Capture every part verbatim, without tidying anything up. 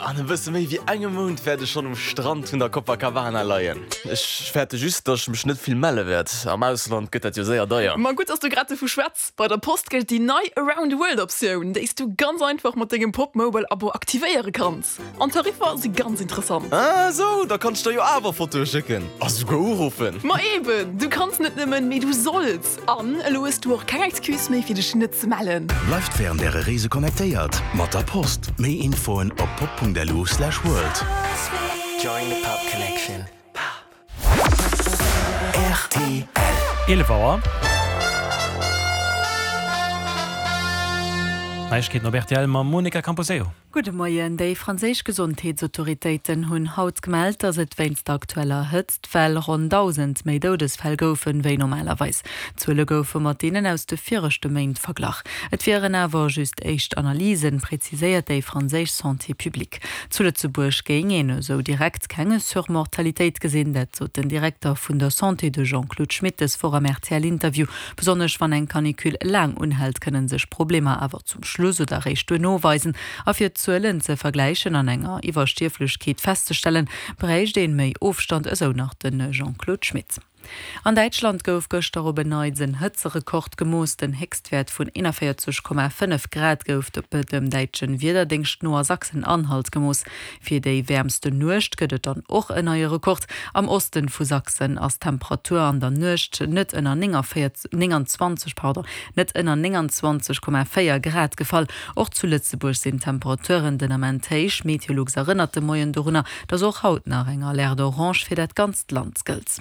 An e bësse méi wéi engem Mount wäert ech schonn um Strand vun der Copacabana leien. Ech fäerte just, datt ech mech net vill melle wäert. Am Ausland gëtt dat jo séier deier. Ma gutt, dass du grad dovu schwätz. Bei der Post gëllt déi nei Around the World Optioun, déi s du ganz einfach mat dengem Popmobile Abo aktivéiere kanns. An d'Tariffer si ganz interessant. Ah sou, da kann ech der jo awer Fotoe schécken a souguer uruffen. Ma eben, du kanns net nëmmen, mee du solls! An elo hues du och keng Excuse méi fir dech net ze mellen. Bleift wärend äre Reese connectéiert mat der Post. Méi Infoen op pop Punkt lu slash world. Join the Pop Connection. Pop. R T L. Eelef Auer. Neiegkeeten op R T L mam Monica Camposeo. Gudde Moien. Déi franséisch Gesondheetsautoritéiten hunn haut gemellt, datt et wéinst der aktueller Hëtztwell ronn dausend méi Doudesfäll goufen, wéi normalerweis. D'Zuele goufe mat deenen aus de viregte Méint verglach. Et wieren awer just éischt Analysen, preziséiert déi franséisch Santé publique. Zu Lëtzebuerg géing een esou direkt keng Surmortalitéit gesinn, dat sot den Direkter vun der Santé, de Jean-Claude Schmit, dës Woch am R T L-Interview. Besonnesch wann eng Canicule laang unhält, kënne sech Problemer awer zum Schluss oder eréischt duerno weisen. A fir d'Zuelen ze vergläichen an enger Iwwerstierflechkeet festzestellen, bräicht een méi Ofstand, esou nach de Jean-Claude Schmit. An Däitschland gouf gëschter op en Neits en Hëtzerekord gemooss. Den Héchstwäert vun eenanvéierzeg Komma fënnef Grad gouf dem däitsche Wiederdéngscht no a Sachsen-Anhalt gemooss. Fir déi wäermsten Nuecht gëtt et dann och en neie Rekord. Am Osten vu Sachsen ass d'Temperatur an der Nuecht net ënner nénganzwanzeg, pardon, net ënner nénganzwanzeg Komma véier Grad gefall. Och zu Lëtzebuerg sinn d'Temperaturen den Ament héich. Meteolux erënnert de Moien dorunner, dass och haut nach eng Alerte orange fir dat ganzt Land gëllt.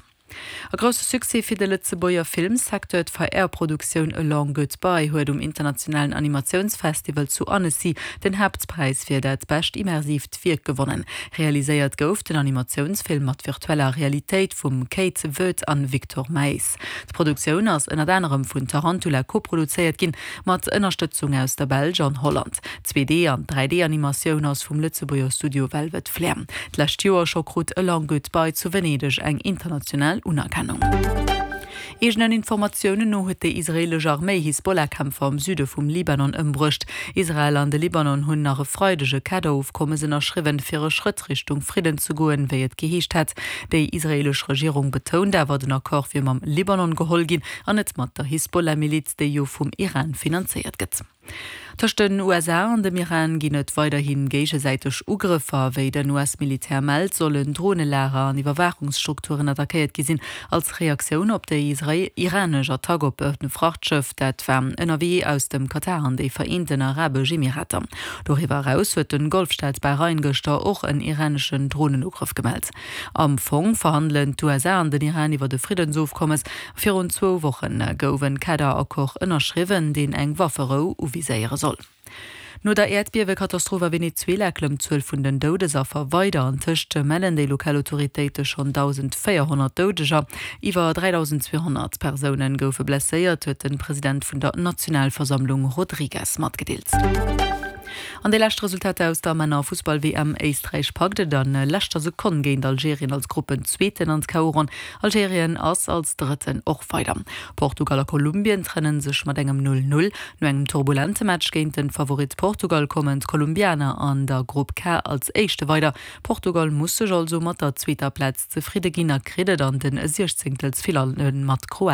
E grousse Succès fir de Lëtzebuerger Filmsecteur, D'V R-Produktioun A Long Goodbye huet um internationalen Animatiounsfestival zu Annecy den Haaptpräis fir dat bescht immersiivt Wierk gewonnen. Realiséiert gouf den Animatiounsfilm mat virtueller Realitéit vum Kate Voet an Victor Maes. D'Produktioun ass ënnert anerem vun Tarantula koproduzéiert ginn, mat Ënnerstëtzung aus der Belsch an Holland. D'Zwee D an dräi D-Animatioun ass vum Lëtzebuerger Studio Velvet Flair. D'lescht Joer scho krut A Long Goodbye zu Venedeg eng international Unerkennung. Eegenen Informatiounen no huet déi israeelesch Arméi Hisbollah-Kämpfer am Süde vum Libanon ëmbruecht. Israel an de Libanon hunn nach e Freideg e Kaderofkommes ënnerschriwwen, fir e Schrëtt Richtung Fridden ze goen, wéi et geheescht hat. Déi israeelesch Regierung betount awer, den Accord wier mam Libanon geholl ginn an net mat der Hisbollah-Miliz, déi jo vum Iran finanzéiert gëtt. Tëscht den U S A an dem Iran ginn et weiderhi géigesäiteg Ugrëffer. Wéi den U S-Militär mellt, sollen Dronelager an Iwwerwaachungsstrukturen attackéiert gi sinn, als Reaktioun op déi iranesch Attack op e Frachtschëff, dat war ënnerwee aus dem Katar an déi Vereenten Arabesch Emirater. Doriwwer eraus huet de Golfstaat Bahrain gëschter och en iraneschen Dronenugrëff gemellt. Am Fong verhandelen d'U S A an den Iran iwwer e Friddensofkommes. Virun zwou Woche gouf e Kaderaccord ënnerschriwwen, deen eng Wafferou uviséiere soll. No der Äerdbiewekatastroph a Venezuela klëmmt d'Zuel vun den Doudesaffer weider. Antëscht mellen déi lokal Autoritéite schonn dausendvéierhonnert Doudeger. Iwwer dräidausendzweehonnert Persoune goufe blesséiert, huet de President vun der Nationalversammlung Rodriguez matgedeelt. An déi lescht Resultater aus der Männer-Fussball-W M: Éisträich packt et a leschter Sekonn géint Algerien als Gruppenzweeten an d'K O-Ronn. Algerien ass als Drëtten och weider. Portugal a Kolumbien trenne sech mat engem null null. No engem turbulente Match géint de Favorit Portugal kommen d'Kolumbianer an der Grupp K als Éischte weider. Portugal muss sech also mat der zweeter Plaz zefridde ginn a kritt et an de Siechzéngtelsfinalle mat Kroatien.